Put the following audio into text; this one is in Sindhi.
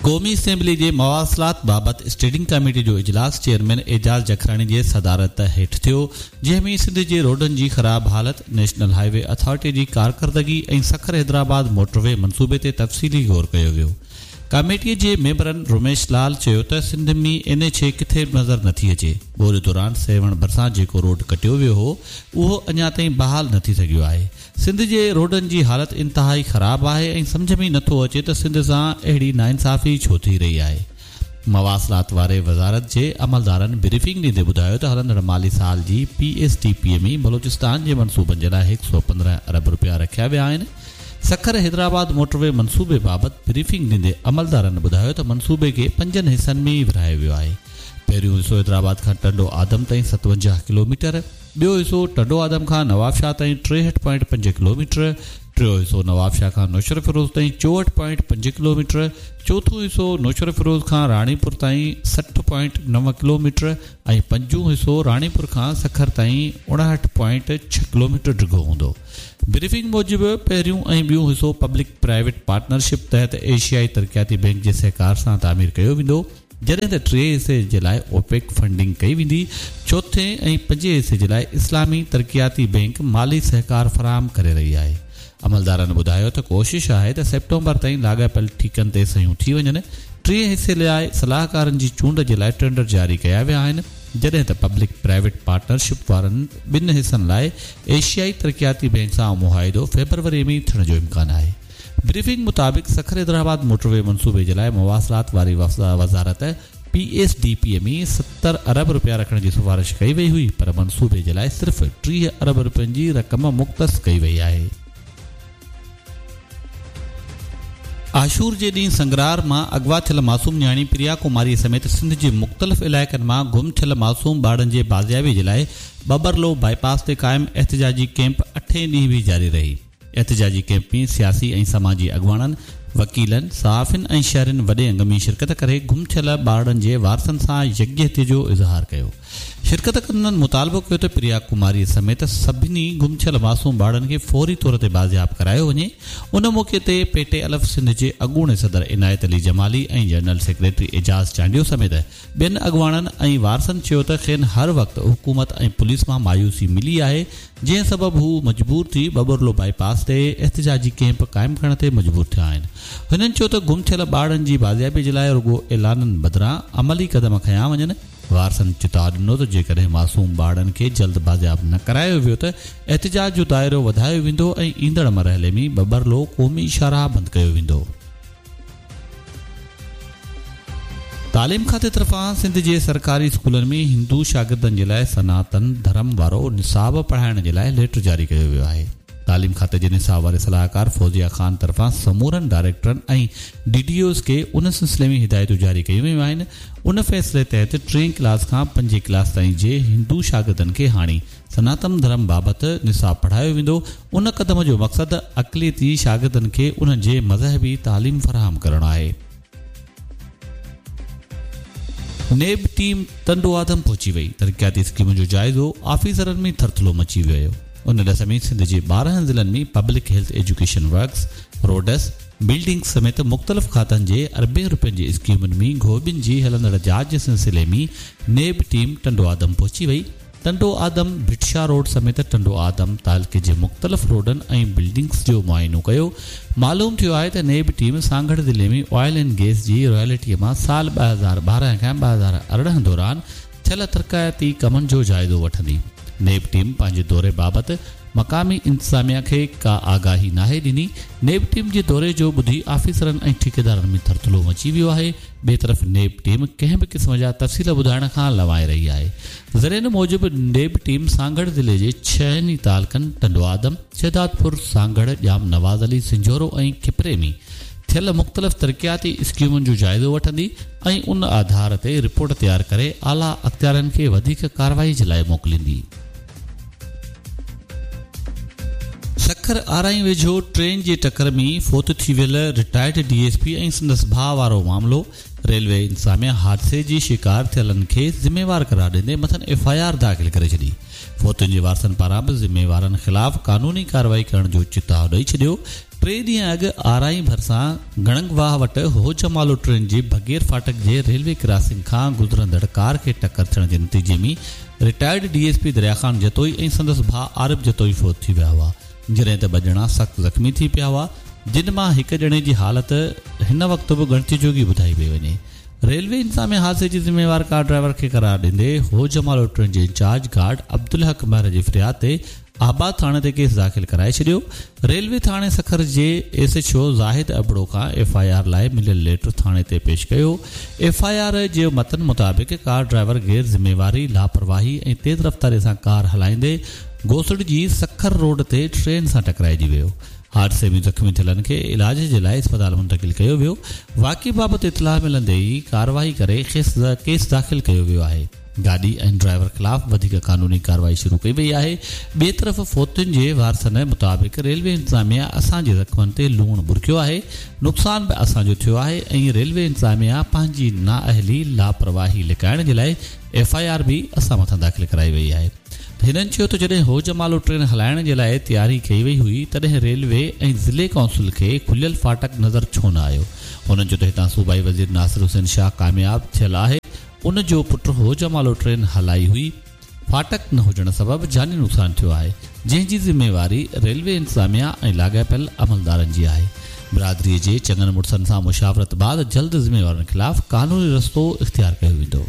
قومي اسيمبلي جي مواصلات بابت اسٽينڊنگ ڪميٽي جو اجلاس چيئرمين اعجاز جکراڻي جي صدارت هيٺ ٿيو، جنهن ۾ سنڌ جي روڊن جي خراب حالت، نيشنل هاء وي اٿارٽي جي ڪارڪردگي ۽ سکر حيدرآباد موٽروي منصوبي تي تفصيلي غور ڪيو ويو. ڪميٽي جي ميمبرن رميش لال چيو ته سنڌ ۾ اين ايڇ اي ڪٿي به نظر نٿي اچي، ٻوڏ دوران سيوهڻ ڀرسان جيڪو روڊ ڪٽيو ويو هو اهو اڃا تائين بحال نه ٿي سگهيو آهي، سنڌ جي روڊن جي حالت انتهائي خراب آهي ۽ سمجهه ۾ نٿو اچي ته سنڌ سان اهڙي ناانصافي ڇو ٿي رهي آهي. مواصلات واري وزارت جي عملدارن بريفنگ ڏيندي ٻڌايو ته هلندڙ مالي سال جي P S D P ۾ Balochistan جي منصوبن جي لاء 115 ارب رپيا رکيا ويا آهن. سکر حيدرآباد موٽروي منصوبي بابت بريفنگ ڏيندي عملدارن ٻڌايو ته منصوبي کي پنجن حصن ۾ ورهايو ويو آهي. پهريون حصو حيدرآباد کان ٽنڊو آدم تائين 57 ڪلوميٽر، ٻيو حصو ٽنڊو آدم کان نوابشاهه تائين 63 پوائنٽ 5 ڪلوميٽر، ٽيون حصو نوابشاهه کان نوشهروفيروز تائين 64 پوائنٽ 5 ڪلوميٽر، چوٿون حصو نوشهروفيروز کان راڻيپور تائين 60 پوائنٽ 9 ڪلوميٽر ۽ پنجون حصو راڻيپور کان سکر تائين 59 پوائنٽ 6 ڪلوميٽر ڊگهو هوندو. بريفنگ موجب پهريون ۽ ٻيون حصو پبلڪ پرائيويٽ پارٽنرشپ تحت ايشيائي ترقياتي بئنڪ جي سهڪار سان تعمير ڪيو ويندو، جڏهن ته ٽئين حصي جي لاء اوپيڪ فنڊنگ ڪئي ويندي، چوٿين ۽ پنجين حصي جي لاء اسلامي ترقياتي بئنڪ مالي سهڪار فراهم ڪري رهي آهي. عملدارن ٻڌايو ته ڪوشش آهي ته سيپٽمبر تائين لاڳاپيل ٺيڪن تي صحيحون ٿي وڃن، ٽئين حصي لاء صلاحڪارن جي چونڊ جي لاء ٽينڊر جاري ڪيا ويا آهن، جڏهن ته پبلڪ پرائيويٽ پارٽنرشپ وارن ٻن حصن لاء ايشيائي ترقياتي بئنڪ سان معاهدو فيبروري ۾ ٿيڻ جو امڪان آهي. بريفنگ مطابق سکر حيدرآباد موٽروي منصوبي جي لاء مواصلات واري وزارت پي ايس ڊي پي ۾ 70 ارب رپيا رکڻ جي سفارش ڪئي وئي هئي پر منصوبي جي لاء صرف 30 ارب رپين جي رقم مختص ڪئي وئي آهي. عاشور جي ڏينهن سنگرار مان اغوا ٿيل معصوم نياڻي پريا ڪماري سميت سنڌ جي مختلف علائقن مان گم ٿيل معصوم ٻارڙن جي بازيابي جي لاء ٻٻرلوء بائي پاس تي قائم احتجاجي ڪئمپ اٺين ڏينهن به جاري رهي. احتجاجي ڪئمپ ۾ سياسي ۽ سماجي اڳواڻن، وڪيلن، صحافين ۽ شهرين وڏي انگ ۾ شرڪت ڪري گم ٿيل ٻارڙن جي وارثن سان يڪجهتي جو اظهار ڪيو. شرڪت ڪندڙن مطالبو ڪيو ته پريا ڪماري سميت سڀني گم ٿيل معصوم ٻارڙن کي فوري طور تي بازياب ڪرايو وڃي. ان موقعي تي پي ٽي الف سنڌ جي اڳوڻي صدر عنايت علي جمالي ۽ جنرل سيڪريٽري اعجاز چانڊيو سميت ٻين اڳواڻن ۽ وارثن چيو ته کين هر وقت حڪومت ۽ پوليس مان مايوسي ملي آهي جنهن سبب هو مجبور ٿي ٻٻرلوء بائي پاس تي احتجاجي ڪئمپ قائم ڪرڻ تي مجبور ٿيا آهن. هنن چيو ته گم ٿيل ٻارڙن جي بازيابي جي لاء رڳو اعلانن بدران عملي قدم کنيا وڃن. وارثن چتاء ڏنو ته جيڪڏهن معصوم ٻارڙن کي جلد بازياب نه ڪرايو ويو ته احتجاج جو دائرو وڌايو ويندو ۽ ايندڙ مرحلي ۾ ٻٻرلوء قومي شاهراهه بند ڪيو ويندو. تعليم کاتي طرفان سنڌ جي سرڪاري اسڪولن ۾ هندو شاگردن جي لاء سناتن ڌرم وارو نصاب پڙهائڻ جي لاء ليٽر جاري ڪيو ويو آهي. تعليم کاتي جي نصاب واري صلاحڪار فوزيه خان طرفان سمورن ڊائريڪٽرن ۽ ڊي ڊي اوز کي ان سلسلي ۾ هدايتون جاري ڪيون ويون آهن. ان فيصلي تحت ٽئين ڪلاس کان پنجين ڪلاس تائين جي هندو شاگردن کي هاڻي سناتن ڌرم بابت نصاب پڙهايو ويندو، ان قدم جو مقصد اقليتي شاگردن کي انهن جي مذهبي تعليم فراهم ڪرڻ آهي. نيب ٽيم ٽنڊو آدم پهچي وئي، ترقياتي اسڪيمن جو جائزو، آفيسرن ۾ ٿرٿلو مچي ويو. ان ڏس ۾ سنڌ جي 12 ضلعن ۾ public health education works, roads, buildings سميت مختلف کاتن جي اربين روپين جي اسڪيمن ۾ گهوٻين جي هلندڙ جاچ جي سلسلي ۾ نيب ٽيم ٽنڊو آدم پهچي وئي، ٽنڊو آدم ڀٽ شاهه روڊ سميت ٽنڊو آدم تعلقي جي مختلف روڊن ۽ بلڊنگس جو معائنو ڪيو. معلوم ٿيو آهي ته نيب ٽيم سانگهڙ ضلعي ۾ آئل اينڊ گئس جي رائلٽي مان سال 2012 کان 2018 دوران ٿيل ترقياتي ڪمن جو جائزو وٺندي. نيب ٽيم پنهنجي دوري بابت مقامي انتظاميا کي ڪا آگاهي ناهي ڏني. نيب ٽيم جي دوري جو ٻڌي آفيسرن ۽ ٺيڪيدارن ۾ ٿرٿلو مچي ويو آهي. ٻئي طرف نيب ٽيم ڪنهن به قسم جا تفصيل ٻڌائڻ کان لنوائي رهي آهي. ذريعن موجب نيب ٽيم سانگهڙ ضلعي جي ڇهن ئي تعلقن ٽنڊوآدم، شهدادپور، سانگهڙ، ڄام نواز علي، سنجهورو ۽ کپري ۾ ٿيل مختلف ترقياتي اسڪيمن جو جائزو وٺندي ۽ ان آڌار تي رپورٽ تيار ڪري اعليٰ اختيارين کي وڌيڪ ڪارروائي جي لاء موڪليندي. سکر آرائين ويجهو ٽرين جي ٽڪر ۾ فوت ٿي ويل رٽائرڊ ڊي ايس پي ۽ سندس ڀاء وارو معاملو، ريلوي انتظاميا حادثي جي شڪار ٿيلن کي ذميوار قرار ڏيندي مٿن ايف I R داخل ڪري ڇڏي. فوتين جي وارثن پاران به ذميوارن خلاف قانوني ڪارروائي ڪرڻ جو چتاء ڏئي ڇڏيو. ٽي ڏينهن اڳ آرائين ڀرسان گڻنگ واهه وٽ هوجمالو ٽرين جي بگير ڦاٽڪ جي ريلوي ڪراسنگ کان گذرندڙ ڪار کي ٽڪر ٿيڻ جي نتيجي ۾ retired D S P Darya Khan Jatoi ۽ سندس ڀاء عارب جتوئي فوت ٿي ويا هئا جڏهن ته ٻه ڄڻا سخت زخمي ٿي پيا هئا جن مان هڪ ڄڻي جي حالت هن وقت به ڳڻتي جوڳي ٻڌائي پئي وڃي. ريلوي انتظاميا حادثي جي ذميوار ڪار ڊرائيور کي قرار ڏيندي هوجمالو ٽرين جي انچارج گارڊ عبدالحق مهر جي فرياد تي آباد ٿاڻي تي ڪيس داخل ڪرائي ڇڏيو. ريلوي ٿاڻي سکر جي S H O Zahid Abro کان ايف I R لاء مليل ليٽر ٿاڻي تي پيش ڪيو. ايف I R جي متن مطابق ڪار ڊرائيور غير ذميواري، لاپرواهي ۽ تيز رفتاري سان ڪار هلائيندي گوسڙجي سکر روڊ تي ٽرين سان ٽڪرائجي ويو. حادثي ۾ زخمي ٿيلن کي علاج جي لاء اسپتال منتقل ڪيو ويو. واقعي بابت اطلاع ملندي ئي ڪارروائي ڪري ڪيس داخل ڪيو ويو آهي. گاڏي ۽ ڊرائيور خلاف وڌيڪ قانوني ڪارروائي شروع ڪئي وئي آهي. ٻئي طرف فوتين جي وارثن مطابق ريلوي انتظاميا اسان جي زخمن تي لوڻ ٻرڪيو آهي، نقصان به اسان جو ٿيو آهي ۽ ريلوي انتظاميا پنهنجي نااهلي، لاپرواهي لڪائڻ جي لاء ايف I R به اسان مٿان داخل ڪرائي وئي آهي. هنن چيو ته جڏهن هوجمالو ٽرين هلائڻ جي لاء تياري ڪئي وئي هئي تڏهن ريلوي ۽ ضلعي ڪائونسل کي کليل ڦاٽڪ نظر ڇو نه آيو. هنن چيو ته هتان صوبائي وزير ناصر حسين شاهه ڪامياب ٿيل آهي ان جو پٽ هوجمالو ٽرين هلائي هئي، ڦاٽڪ نه هجڻ سبب جاني نقصان ٿيو آهي، جنهن جي ذميواري ريلوي انتظاميا ۽ لاڳاپيل عملدارن جي آهي. برادري جي چڱن مڙسن سان مشاورت بعد جلد ذميوارن خلاف قانوني رستو اختيار ڪيو ويندو.